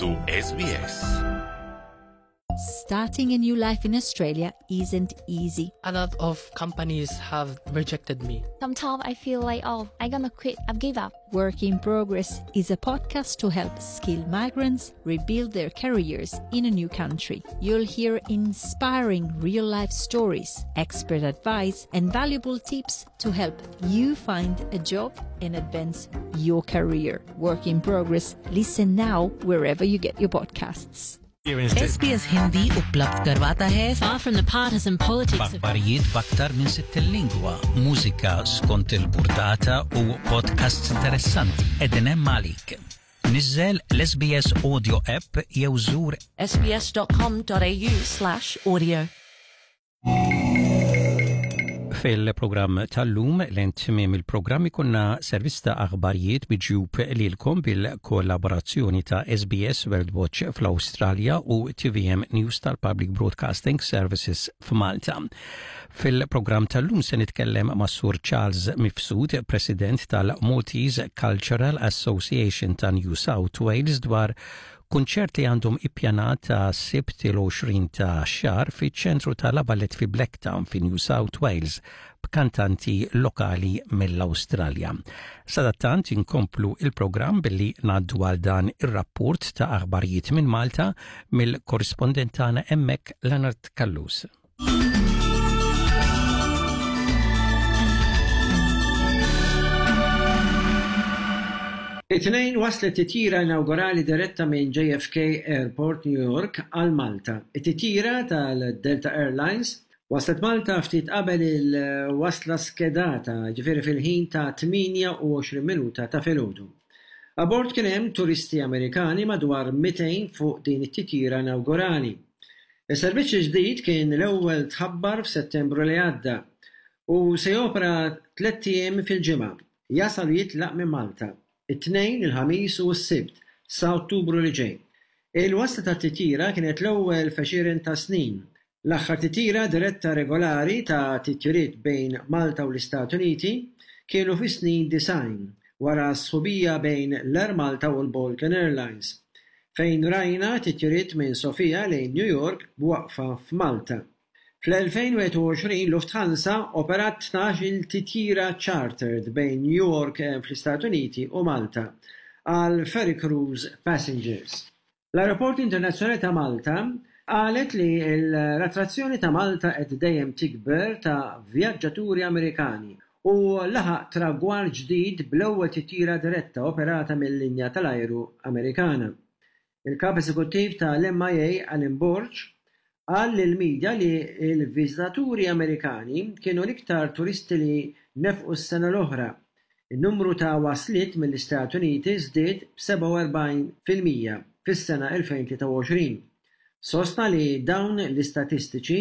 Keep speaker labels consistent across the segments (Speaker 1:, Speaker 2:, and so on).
Speaker 1: su SBS.
Speaker 2: Starting a new life in Australia isn't easy.
Speaker 3: A lot of companies have rejected me.
Speaker 4: Sometimes I feel like, oh, I'm gonna quit, I've give up.
Speaker 2: Work in Progress is a podcast to help skilled migrants rebuild their careers in a new country. You'll hear inspiring real life stories, expert advice, and valuable tips to help you find a job and advance your career. Work in Progress. Listen now wherever you get your podcasts.
Speaker 5: SBS Hindi उपलब्ध करवाता है
Speaker 6: Far from the partisan politics of
Speaker 7: B'aħbarijiet b'aktar minn 60 lingwa, mużika skont il-burdata u podcasts interessanti qegħdin hemm għalik. Niżżel l-SBS Audio app jew żur
Speaker 6: sbs.com.au/audio.
Speaker 7: Fil-programm tal-lum lejn tmiem il-programm ikunna servizz ta' aħbarijiet miġjub lilkom bil-kollaborazzjoni ta' SBS World Watch fl-Awstralja u TVM News tal-Public Broadcasting Services f'Malta. Fil-programm tal-lum se nitkellem ma' Sur Charles Mifsud, President tal-Maltese Cultural Association ta' New South Wales dwar Kunċert li għandhom ippjanat għas-Sibt il-20 ta' xahar fiċ-ċentru ta' La Valette fi Blacktown fi New South Wales b'kantanti lokali mill-Awstralja. Sadattant inkomplu il-programm billi ngħaddu għal dan ir-rapport ta' aħbarijiet minn Malta mill-korrispondent tagħna hemmhekk Leonard Callus.
Speaker 8: It-Tnejn waslet titjira inawgurali diretta minn JFK Airport, New York għal Malta. It-titjira tal-Delta Airlines waslet Malta ftit qabel il-wasla skedata, jiġifieri fil-ħin ta' 28 minuta ta' filgħodu. Abbord kien hemm turisti Amerikani madwar 200 fuq din it-titjira inawgurali. Is-servizz il-ġdid kien l-ewwel tħabbar f'Settembru li għadda u se jopera tlett ijiem fil-ġimgħa, jasal u jitlaq minn Malta, it-Tnejn, il-Ħamis u s-Sibt sa Ottubru li ġej. Il-wasla tat-titjira kienet l-ewwel f'għexieren ta' snin. L-aħħar titjira diretta regolari ta' titjiriet bejn Malta u l-Istati Uniti kienu fis-snin 90, wara s-sħubija bejn l-Air Malta u l-Balkan Airlines. fejn rajna titjiriet minn Sofia lejn New York b'waqfa f'Malta. Fl-2021 Lufthansa operat 12-il titjira chartered bejn New York fl-Istati Uniti u Malta għal ferry cruise passengers. L-Ajruport Internazzjonali ta' Malta qalet li l-attrazzjoni ta' Malta qed dejjem tikber ta' vjaġġaturi Amerikani u laħaq tragward ġdid bl-ewwel titjira diretta operata mil-linja tal-ajru Amerikana. Il-Kap Eżekuttiv tal-MIA Alan Borg qal lill-midja li l-viżitaturi Amerikani kienu l-iktar turisti li nefqu s-sena l-oħra. In-numru ta' wasliet mill-Istati Uniti żdied b'47% fis-sena 2023. Sostna li dawn l-istatistiċi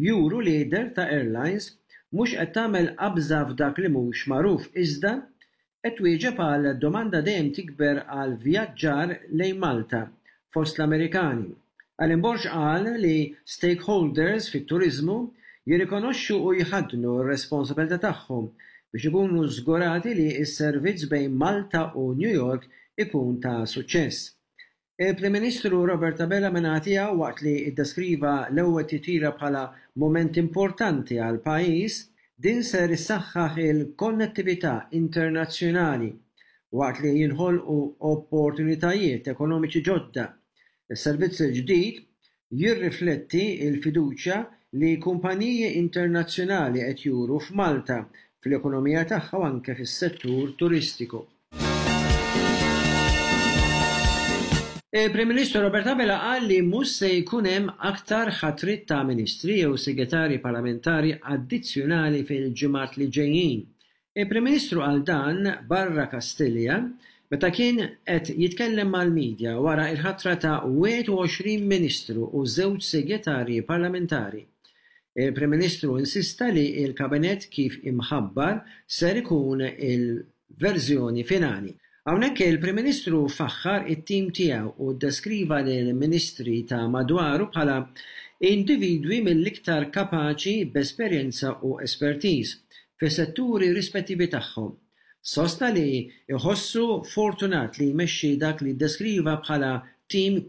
Speaker 8: juru li Delta Airlines mhux qed tagħmel qabża f'dak li mhux magħruf iżda qed twieġeb għal domanda dejjem tikber għal vjaġġar lejn Malta fost l-Amerikani. Alan Borg qal li stakeholders fit-turiżmu jirrikonoxxu u jħaddnu r-responsabilità tagħhom biex ikunu żgurati li s-servizz bejn Malta u New York ikun ta' suċċess. Il-Prim Ministru Robert Abela min-naħa tiegħu waqt li ddeskriva l-ewwel titjira bħala mument importanti għall-pajjiż, din ser issaħħaħ il-konnettività internazzjonali waqt li jinħolqu opportunitajiet ekonomiċi ġodda. Is-servizz il-ġdid jirrifletti l-fiduċja li kumpaniji internazzjonali qed juru f'Malta, fl-ekonomija tagħha u anke fis-settur turistiku. Il-Prim Ministru Robert Abela qal li mhux se jkun hemm aktar ħatriet ta' Ministri jew Segretarji Parlamentari addizzjonali fil-ġimgħat li ġejjin. Il-Prim Ministru qal dan barra Kastilja meta kien qed jitkellem mal-media wara l-ħatra ta' 21 Ministru u żewġ Segretarji Parlamentari. Il-Prim Ministru insista li l-Kabinett kif imħabbar ser ikun il-verżjoni finali. Hawnhekk il-Prim Ministru faħħar it-tim tiegħu u ddeskriva lill-Ministri ta' madwaru bħala individwi mill-iktar kapaċi b'esperjenza u espertiż fis-setturi rispettivi tagħhom. Sostna li jħossu fortunat li jmexxi dak li ddeskriva bħala tim.